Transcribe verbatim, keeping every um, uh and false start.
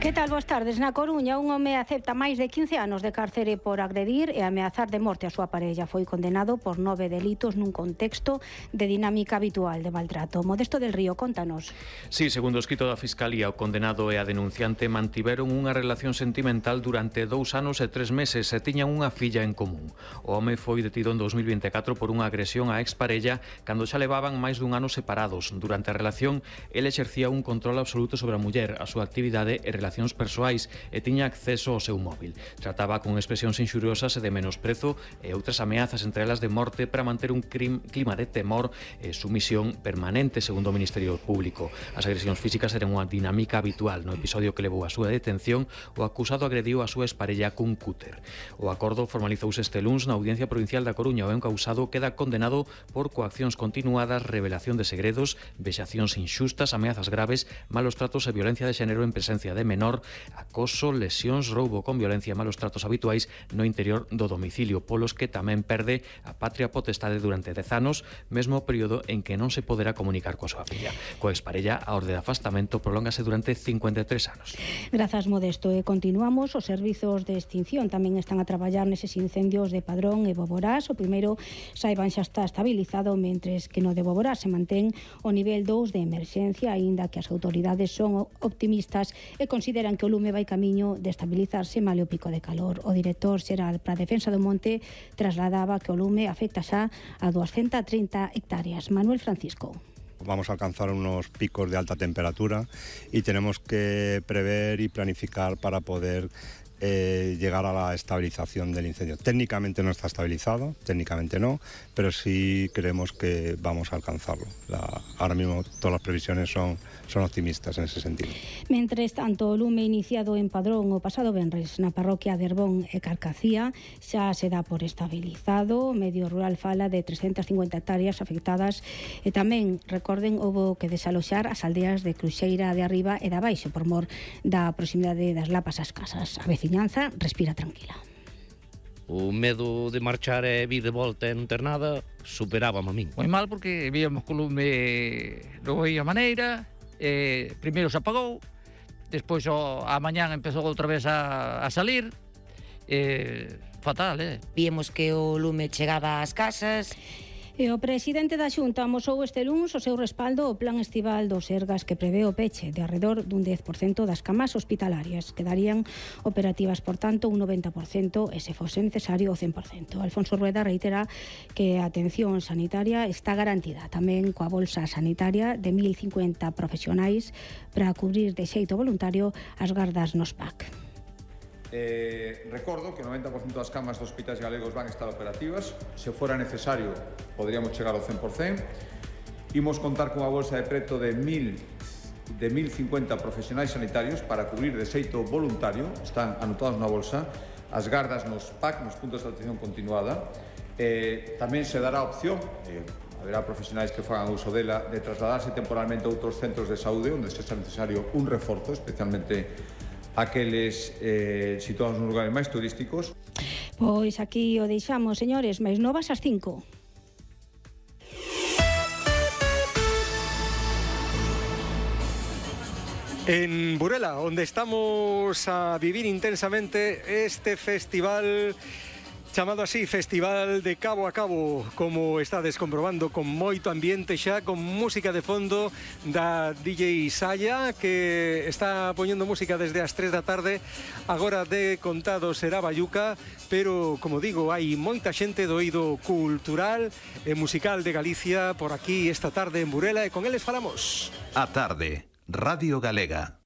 Que tal, boas tardes? Na Coruña, un home acepta máis de quince anos de cárcere por agredir e ameazar de morte a súa parella. Foi condenado por nove delitos nun contexto de dinámica habitual de maltrato. Modesto del Río, contanos. Sí, segundo o escrito da Fiscalía, o condenado e a denunciante mantiveron unha relación sentimental durante dous anos e tres meses e tiñan unha filla en común. O home foi detido en dos mil vinte e catro por unha agresión á exparella cando xa levaban máis dun ano separados. Durante a relación, el exercía un control absoluto sobre a muller, a súa actividade e relación persoais e tiña acceso ao seu móvil. Trataba con expresións inxuriosas e de menosprezo e outras ameazas, entre elas de morte, para manter un crim, clima de temor e sumisión permanente, segundo o Ministerio Público. As agresións físicas eran unha dinámica habitual. No episodio que levou a súa detención, o acusado agrediu a súa exparella cun cúter. O acordo formalizouse este luns na Audiencia Provincial da Coruña. O encausado queda condenado por coaccións continuadas, revelación de segredos, vexacións inxustas, ameazas graves, malos tratos e violencia de xénero en presencia de menor, acoso, lesións, roubo con violencia e malos tratos habituais no interior do domicilio, polos que tamén perde a patria potestade durante dez anos, mesmo período en que non se poderá comunicar coa súa filla. Coa exparella, a orde de afastamento prolóngase durante cincuenta e tres anos. Grazas, Modesto. E continuamos, os servizos de extinción tamén están a traballar neses incendios de Padrón e Boborás. O primeiro, saiban, xa está estabilizado, mentres que no de Boborás se mantén o nivel dous de emerxencia, aínda que as autoridades son optimistas e consideran que o lume vai camiño de estabilizarse male o pico de calor. O director xeral para a defensa do monte trasladaba que o lume afecta xa a doscientas trinta hectáreas. Manuel Francisco. Vamos a alcanzar unos picos de alta temperatura y tenemos que prever y planificar para poder eh, llegar a la estabilización del incendio. Técnicamente no está estabilizado, técnicamente no, pero sí creemos que vamos a alcanzarlo. La, ahora mismo todas las previsiones son, son optimistas en ese sentido. Mentres tanto, o lume iniciado en Padrón o pasado venres na parroquia de Herbón e Carcacía xa se dá por estabilizado. O medio rural fala de trescientas cincuenta hectáreas afectadas e tamén, recorden, houbo que desaloxar as aldeas de Cruxeira de Arriba e de Abaixo por mor da proximidade das lapas ás casas. A veciñanza respira tranquila. O medo de marchar e vir de volta e non ter nada superábame a min. Moi mal porque víamos que o lume non veía maneira, eh, primeiro se apagou, despois o, a mañán empezou outra vez a, a salir, eh, fatal, eh? Víamos que o lume chegaba ás casas. E o presidente da Xunta amosou este luns o seu respaldo ao plan estival do Sergas, que prevé o peche de arredor dun dez por cento das camas hospitalarias. Quedarían operativas, por tanto, un noventa por cento e, se fose necesario, o cen por cento. Alfonso Rueda reitera que a atención sanitaria está garantida, tamén coa bolsa sanitaria de mil cincuenta profesionais para cubrir de xeito voluntario as gardas nos P A C. Eh, recordo que o noventa por cento das camas dos hospitais galegos van estar operativas. Se fora necesario, poderíamos chegar ao cen por cento. Imos contar cunha bolsa de preto de mil cincuenta profesionais sanitarios para cubrir de xeito voluntario. Están anotados na bolsa as gardas nos P A C, nos puntos de atención continuada. Eh, tamén se dará opción, eh, haberá profesionais que fagan uso dela, de trasladarse temporalmente a outros centros de saúde onde sexa necesario un reforzo, especialmente aqueles eh, situados nos lugares máis turísticos. Pois aquí o deixamos, señores, máis novas ás cinco. En Burela, onde estamos a vivir intensamente este festival chamado así, Festival de Cabo a Cabo, como estades comprobando, con moito ambiente xa, con música de fondo da D J Saya, que está poñendo música desde as tres da tarde. Agora de contado será Bayuca, pero, como digo, hai moita xente do eido cultural e musical de Galicia por aquí esta tarde en Burela, e con eles falamos. A tarde, Radio Galega.